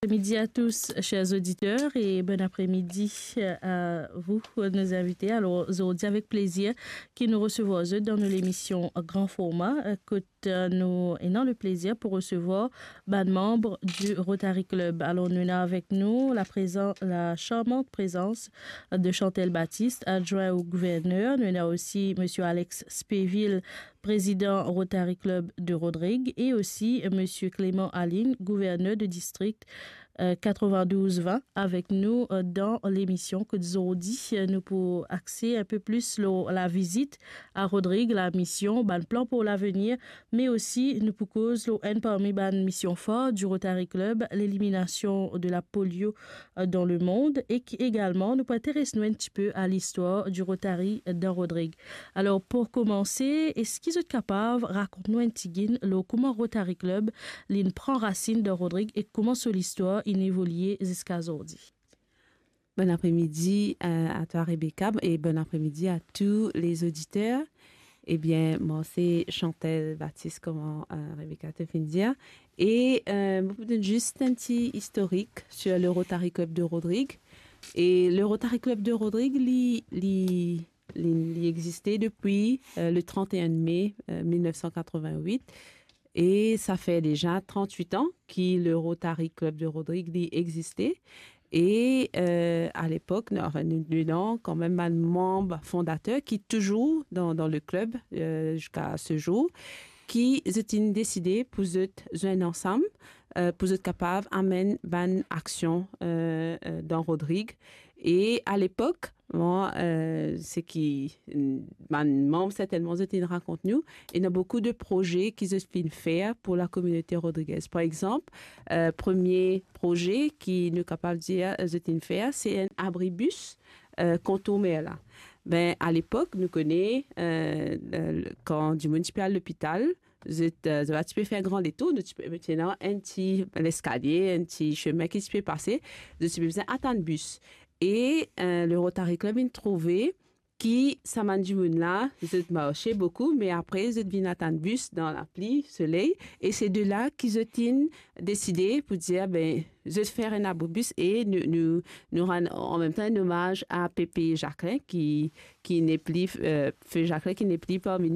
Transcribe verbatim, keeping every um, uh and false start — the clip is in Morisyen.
Midi à tous, chers auditeurs, et bon après-midi à vous, nos invités. Alors, zordi, avek plezir ki nou resevwar zot dan nou lemision Gran Forma, kot, euh, nou ena le plezir pou resevwar bann manm di Rotary Club. Alor, nou ena avek nou la prezan-, la charmante présence de Chantal Baptiste, adjoint au gouverneur. Nou ena osi Monsieur Alex Spéville, président Rotary Club de Rodrig, et aussi Monsieur Clément Aline, gouverneur de district, euh, quatre-vingt-douze vingt, avek nou, euh, dan lemision. Kot zordi, euh, nou pou axe inpe plis lor lavizit a Rodrig, lamision, bann plan pou lavenir, me osi nou pou koz lor enn parmi bann mision far di Rotary Club, leliminasion de la polio, euh, dan lemond, e ki egalman nou pou interes nou enn tipe a listwar di Rotary dan Rodrig. Alor, pou koumanse, eski zot kapav rakont nou enn tigit lor kouma Rotary Club li'nn pran rasinn dan Rodrig e kouma so listwar inn evolie ziska zordi? Bon après-midi, euh, à toi, Rebecca, et bon après-midi à tous les auditeurs. Ebien, mwa se Chantal Baptiste, kouma, euh, Rebecca te finn dir. E, euh, mo pou donn zis enn ti istorik sur le Rotary Club de Rodrig. E le Rotary Club de Rodrig, li, li, li, li existe depi, euh, le trente et un mai, euh, mil nef san katrovin-wit. E sa fer deza trant-wit an ki le Rotary Club de Rodrig, li existe. E, euh, a lepok, nou, anfin, nou, nou ena kanmem bann manm fondater ki touzour dan, dan le club, euh, ziska se zour, ki zot inn deside pou zot zwenn ansam, euh, pou zot kapav amenn bann aksion, euh, euh, dan Rodrig. E a lepok, bon, euh, seki, mm, bann manm sertennman zot inn rakont nou, ena boukou de proze ki zot finn fer pou la kominote rodrigez. Par exanp, euh, premie proze ki nou kapav dir, euh, zot inn fer, se enn abribis, euh, kontour Merla. Be, a lepok, nou kone, euh, le, le, kan dimoun ti pe al lopital, zot, euh, zot pa ti pe fer gran detour, nou ti pe, ti ena enn ti leskalie, enn ti sime ki ti pe pase, zot ti pe bizin atann bis. E, euh, le Rotary Club inn trouve ki sa bann dimoun la, zot marse boukou, me apre zot vinn atann bis dan lapli, soley, e se de la ki zot inn deside pou dir, be, zot fer enn abribis e nou, nou, nou rann an mem tan enn omaz a Pépé Jacquelin ki, ki nepli, euh, Fe Jacquelin ki nepli parmi nou.